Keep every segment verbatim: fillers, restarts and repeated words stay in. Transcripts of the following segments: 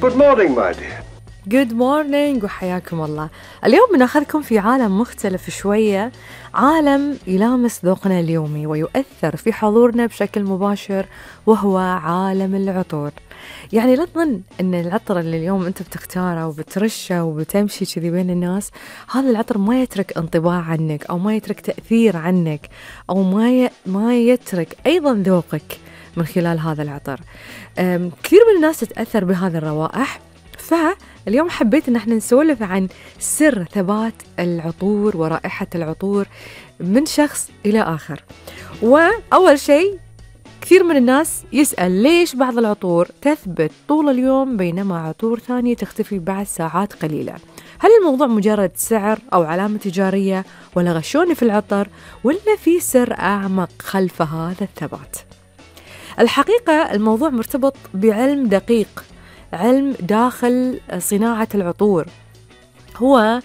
Good morning, my dear. Good morning وحياكم الله. اليوم بناخذكم في عالم مختلف شوية، عالم يلامس ذوقنا اليومي ويؤثر في حضورنا بشكل مباشر، وهو عالم العطور. يعني لا تظن أن العطر اللي اليوم أنت بتختاره وبترشه وبتمشي كذي بين الناس، هذا العطر ما يترك انطباع عنك أو ما يترك تأثير عنك أو ما ي... ما يترك أيضا ذوقك من خلال هذا العطر. كثير من الناس تتأثر بهذه الروائح، فاليوم حبيت ان احنا نسولف عن سر ثبات العطور ورائحة العطور من شخص إلى آخر. وأول شيء، كثير من الناس يسأل ليش بعض العطور تثبت طول اليوم بينما عطور ثانية تختفي بعد ساعات قليلة؟ هل الموضوع مجرد سعر أو علامة تجارية، ولا غشوني في العطر، ولا في سر أعمق خلف هذا الثبات؟ الحقيقة الموضوع مرتبط بعلم دقيق، علم داخل صناعة العطور. هو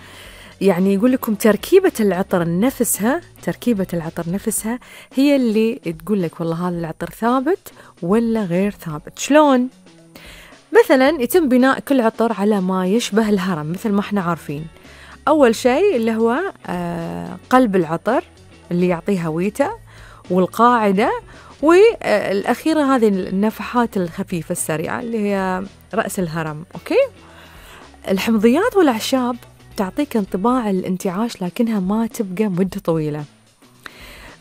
يعني يقول لكم تركيبة العطر نفسها تركيبة العطر نفسها هي اللي تقول لك والله هذا العطر ثابت ولا غير ثابت. شلون؟ مثلا يتم بناء كل عطر على ما يشبه الهرم، مثل ما احنا عارفين. أول شيء اللي هو آه قلب العطر اللي يعطيه هويته، والقاعدة، والأخيرة هذه النفحات الخفيفة السريعة اللي هي رأس الهرم. أوكي، الحمضيات والأعشاب تعطيك انطباع الانتعاش لكنها ما تبقى مدة طويلة،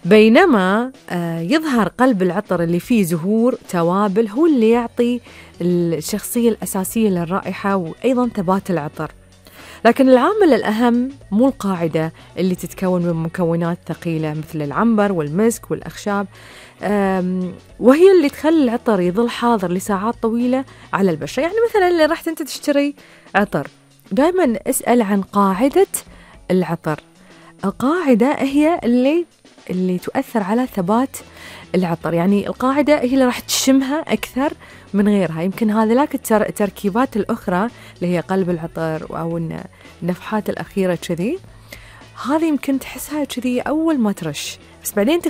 بينما يظهر قلب العطر اللي فيه زهور توابل هو اللي يعطي الشخصية الأساسية للرائحة وأيضا ثبات العطر. لكن العامل الأهم مو القاعدة اللي تتكون من مكونات ثقيلة مثل العنبر والمسك والأخشاب، وهي اللي تخلي العطر يظل حاضر لساعات طويلة على البشرة. يعني مثلا اللي رحت أنت تشتري عطر، دائما اسأل عن قاعدة العطر. القاعدة هي اللي اللي تؤثر على ثبات العطر، يعني القاعدة هي اللي راح تشمها أكثر من غيرها. يمكن هذه التركيبات الأخرى اللي هي قلب العطر أو النفحات الأخيرة كذي، هذه يمكن تحسها كذي أول ما ترش، بس بعدين